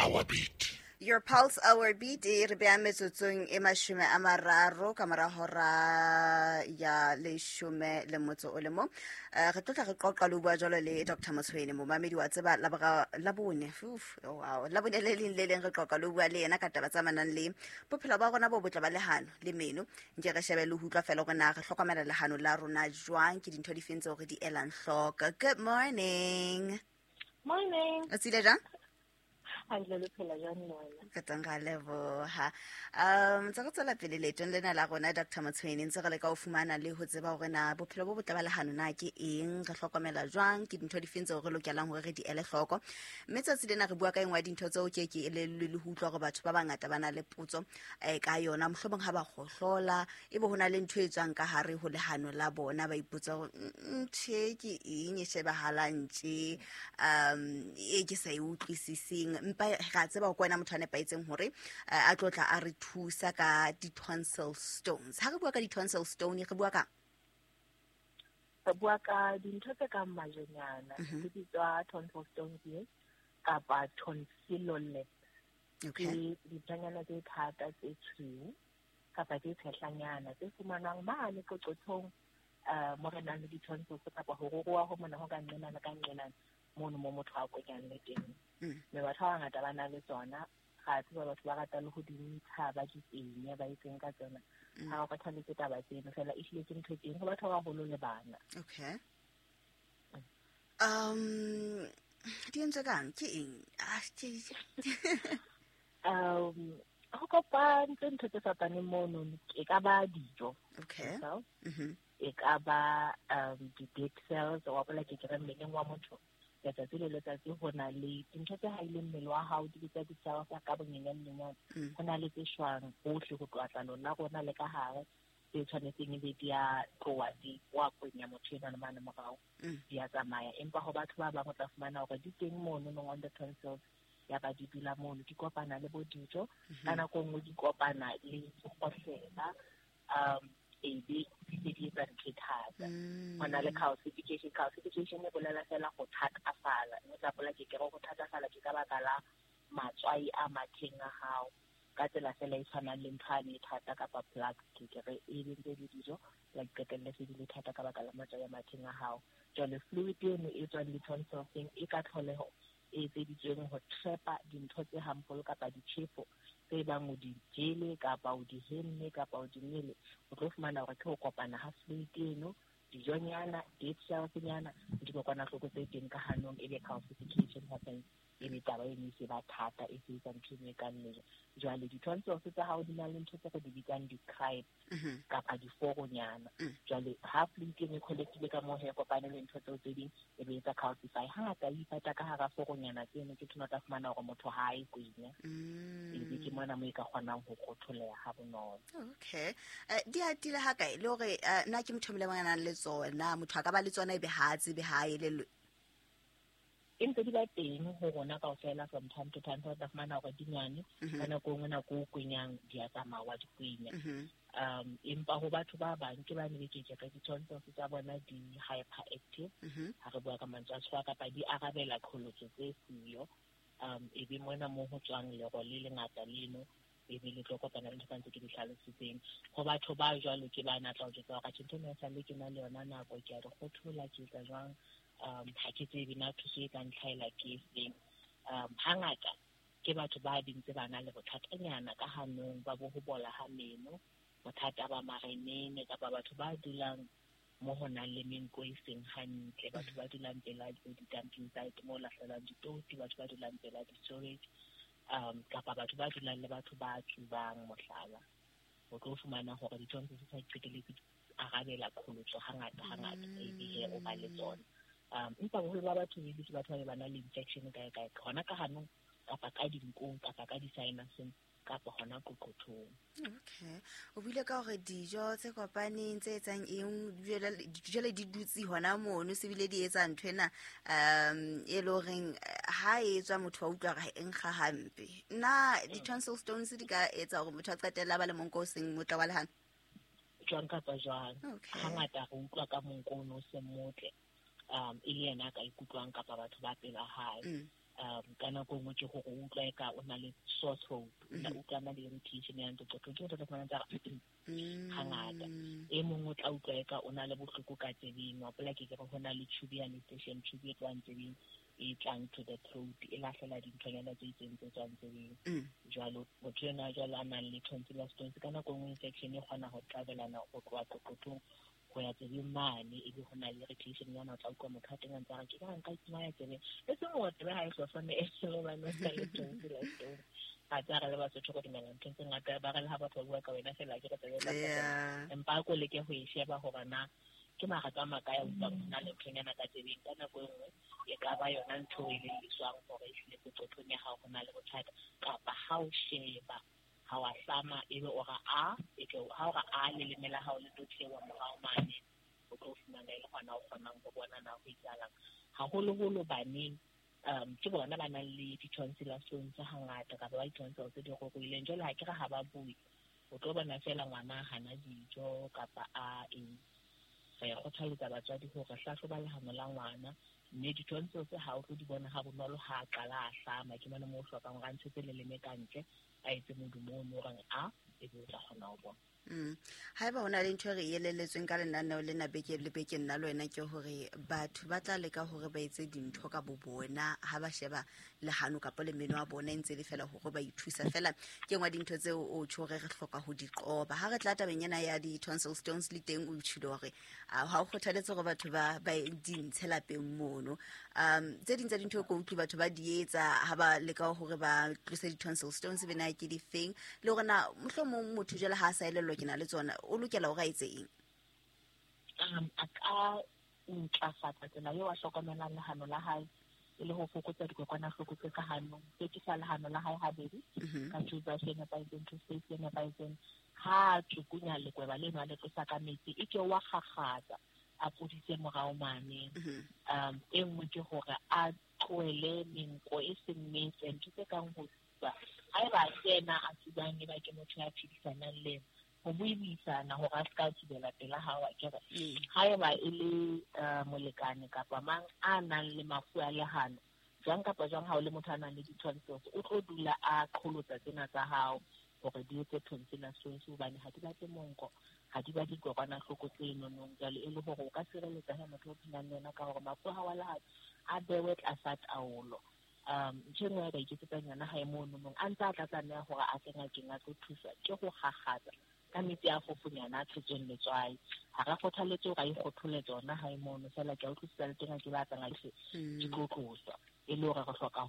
our beat. Your Pulse Our Beat e re beya metsotsong e 30 ka mora hora ya 11 le motso o le mong. Re tlotla re qoqa le ho bua jwalo le Dr. Motshwene, momamedi wa tseba Labone. Uf, oh, wow. Labone le leng le leng re qoqa le ho bua le yena ka taba tse amanang le bophelo ba rona bo botle ba lehano le meno. Nke re shebe le ho utlwa fela hore na re hlokomela lehano la rona jwang, ke dintho difeng tseo re di elang hloko. Good morning. Morning. O tsile jwang? Hantle, le phela jwang le wena? Re teng, ra leboha. Ntse re tswela pele leetong lena la rona, Dr. Motshweni, ntse re leka ho fumana le ho tseba hore na bophelo bo botle ba lehano na ke eng, re hlokomela jwang, ke dintho difeng tseo re lokelang hore re di ele hloko. Mme tsatsi lena re bua ka engwe ya dintho tseo ke ke elellwe le ho utlwa hore batho ba bangata ba na le potso ka yona. Mohlomong ha ba kgohlola, ebe ho na le ntho e tswang ka hare ho lehano la bona, ba ipotsa hore ntho e ke eng e shebahalang tje, e ke sa e utlwisiseng. Empa ra tseba hore ke wena motho a nepahetseng hore a tlo tla a re thusa ka di-tonsil stones. Ha re bua ka di-tonsil stone, re bua ka? Re bua ka dintho tse kang majwenyana, di bitswa tonsil stones kapa tonsillolith. Ke dinthonyana tse thata tse tshweu kapa tse tshehlanyana tse fumanwang mane qoqothong, mo re nang le di-tonsils kapa ho ruruha ho mona ho ka nqenana ka nqenana mono mo motho a kwenyang le teng. Mme batho ba bangata ba na le tsona. Ra tseba batho ba rata le ho di ntsha, ba di penye, ba etseng ka tsona. Ha o kgathaletse taba tseno fela, ehlile ke ntho e teng ho batho ba baholo le bana. Okay. Di entswe kang? Ke eng? Ah, Ho kopantse ntho tse fapaneng mono, e ka ba dijo. Okay. So, e ka ba di-dead cells, wa bola ke kere mmeleng wa motho letsatsi le letsatsi ho na le dintho tse haileng mmele wa hao, di bitsa di-cells ka bonyenyane-nyenyane. Ho na le tse shwang hohle ho tloha tlalong la rona le ka hare, tse tshwanetseng ebe di a tloha, di wa kwenya motho enwa le mane morao, di a tsamaya. Empa ho batho ba bang o tla fumana hore di teng mono nong on the tonsils, ya ba di dula mono, di kopana le bo dijo, ka nako e nngwe di kopana le dikgohlela, e be di se di etsa ntho e thata. Ho na le calcification. Calcification e bolela fela ho thatafala. Mme o tla hopola ke kere ho thatafala ke ka baka la matswai a matheng a hao, ka tsela fela e tshwanang le ntho ane e thata kapa plug, ke kere e be ntse le dijo, la di qetelle se di le thata ka baka la matswai a matheng a hao. Jwale fluid eno e tswang di-tonsils-eng e ka tlholeho e etseditsweng ho trap-a dintho tse harmful kapa ditjhefo tse bang o di jele kapa o di hemme kapa o di nwele. O tlo fumana hore ke ho kopana ha fluid eno, dijonyana, dead cells-nyana, le dikokwanahloko tse teng ka hanong, ebe calcification happens, ebe taba eno e se ba thata, e se etsa ntho e kang lejwe. Jwale di-tonsils tsa hao di na le ntho tse re di bitsang di-crypts kapa diforonyana. Jwale ha fluid eno e collect-ile ka moo he, kopane le ntho tseo tse ding, e be etsa calcify. Hangata e ipata ka hara foronyana tseno, ke thona o tla fumana hore motho ha a e kwenya. Ebe ke mona moo e ka kgonang ho kgotholeha ha bonolo. Okay. Di atile ha kae? Le hore na ke motho e mong le mang a nang le tsona, motho a ka ba le tsona ebe ha a tsebe, ha a elellwe? E ntse di ba teng ho rona kaofela from time to time. O tla fumana hore di nyane, ka nako e nngwe nako o kwenyang di a tsamaya, wa di kwenya. Empa ho batho ba bang ke ba ne be ke re di-tonsils tsa bona di hyperactive, ha re bua ka mantswe a tshwa, kapa di arabela qholotso tse siyo. E be mona mo ho tswang lero le lengata leno, e be le tlo kopana le ntho tsa ntse ke di hlalositseng. Ho batho ba jwalo ke ba na tla o jwetsa hore atjhe, ntho ena esale ke na le yona nako, ke a di kgothola, ke etsa jwang, ha ke tsebe na thuso e ka ntlhaela ke efeng. Hangata ke batho ba dintse ba na le bothatanyana ka hanong ba bo ho bola ha meno, bothata ba marenene, kapa batho ba dulang mo ho nang le menko e seng hantle, batho ba dulang pela di-dumping site mo lahlelwang ditoti, batho ba dulang pela di-storage, kapa batho ba dulang le batho ba tsubang mohlala. O tlo fumana hore di-tonsils tsa qetelletse di arabela qholotso hangata hangata, ebe he o ba le tsona. Empa boholo ba batho e ke batho ba ba nang le infection kae kae, hona ka hanong kapa ka dinkong kapa ka di-sinuseng kapa hona qoqothong. Okay. O buile ka hore dijo tse kopaneng tse etsang eng, jwale di dutse hona mono, se bile di etsa ntho ena, e le horeng ha e tswa motho wa utlwa hore e nkga hampe. Na di-tonsil stones di ka etsa hore motho a qetelle a ba le monko o seng motle wa lehano? Jwang kapa jwang. Okay. Hangata re utlwa ka monko ono o seng motle, e le yena a ka ikutlwang kapa batho ba pela hae. Ka nako nngwe ke gore o utlwa e ka o na le sore throat, o utlwa na le irritation ya qoqothong, ke motho o tla fumana tsa hangata. E mongwe o tla utlwa e ka o na le bohloko ka tsebeng, wa hopola ke re ho na le tube ya station, tube e tlohang tsebeng e tlang to the throat, e lahlela dinthonyana tse itseng tse tswang tsebeng. Jwalo motho enwa jwalo a nang le tonsillar stones, ka nako nngwe infection e kgona ho travelana ho tloha qoqothong ho ya tsebeng mane, ebe ho na le irritation yana, o tla utlwa motho a teng a ntse a re ke ka nka itsmaya tsebeng, e seng hore tsebe ha e hlohlone e hobane o na le tonsillar stone. Ha tsa re le Basotho go dumela nthong tse ngata, ba re le ha batho ba bua ka wena fela ke re tsebe tla empa a ko leke ho e sheba hore na ke magatso a makae a utlwang ho na le nthonyana ka tsebeng. Ka nako e nngwe e ka ba yona ntho e lelliswang hore ehlile qoqothong ya hao ho na le bothata, kapa ha o sheba ha wa hlama ebe o ra a, eke ha o ra a leleme la hao le tlo theoha morao mane, o tlo fumana e le hona o kgonang ho bona na ho etsahalang. Haholoholo baneng, ke bona ba nang le di-tonsillar stones hangata, kapa ba di-tonsils tse di ruruhileng. Jwale ha ke re ha ba bue, o tlo bona fela ngwana a hana dijo kapa a eng. Re kgothaletsa batswadi hore hlahloba lehano la ngwana, mme di-tonsils ha o tlo di bona ha bonolo ha a qala a hlama, ke mona moo o hlokang hore a ntshetse leleme ka ntle, a etse modumo o no reng a, ebe o tla kgona ho bona. Haeba ho na le ntho e re elelletsweng ka lenaneo lena beke le beke nna le wena, ke hore batho ba tla leka hore ba etse dintho ka bo bona ha ba sheba lehano kapa le meno a bona e ntse le fela hore ba ithusa fela. Ke nngwe ya dintho tseo o tjho hore re hloka ho di qoba. Ha re tla tabeng ena ya di-tonsil stones le teng, o tjhile hore ha o kgothaletse hore batho ba di ntshe lapeng mono. Tse ding tsa dintho ke utlwe batho ba di etsa ha ba leka hore ba tlose di-tonsil stones be na ke difeng, le hore na mohlomong motho jwale ha a sa elellwa ke na le tsona, o lokela hore a etse eng? A ka ntlafatsa tsela eo a hlokomelang lehano la hae, e le ho fokotsa dikokwanahloko tse ka hanong, hlwekisa lehano la hae habedi ka toothbrush e nepahetseng, toothpaste e nepahetseng. Ha a tsukunya lekweba leno a le tlosa ka metsi, e ke wa kgakgatsa, a pudise morao mane. E nngwe ke hore a tlohele menko e seng metle, ntho tse kang ho tsuba. Haeba a se yena a tsubang, eba ke motho ya phedisanang le yena, ho buisana hore a ska tsubela pela hao, akere. Haeba e le molekane kapa mang a nang le mafu a lehano, jwang kapa jwang ha o le motho a nang le di-tonsils, o tlo dula a qholotsa tsena tsa hao hore di etse tonsillar stones, hobane ha di batle monko, ha di batle dikokwanahloko tse nonong. Jwale e le hore o ka sireletsa he motho o phelang le yena ka hore mafu a hao a lehano a bewe tlasa taolo. Ntho e nngwe ya ka iketsetsang yona hae mono nong, a ntse a tla tlameha hore a tle ngakeng a tlo thuswa, ke ho kgakgatsa ka metsi a fofonyana a tshetsweng letswai. Ha re kgothaletse hore a ikgothole tsona hae mono, fela ke a utlwisisa le teng ha ke batla ngake di tlo tloswa, e le hore re hloka ho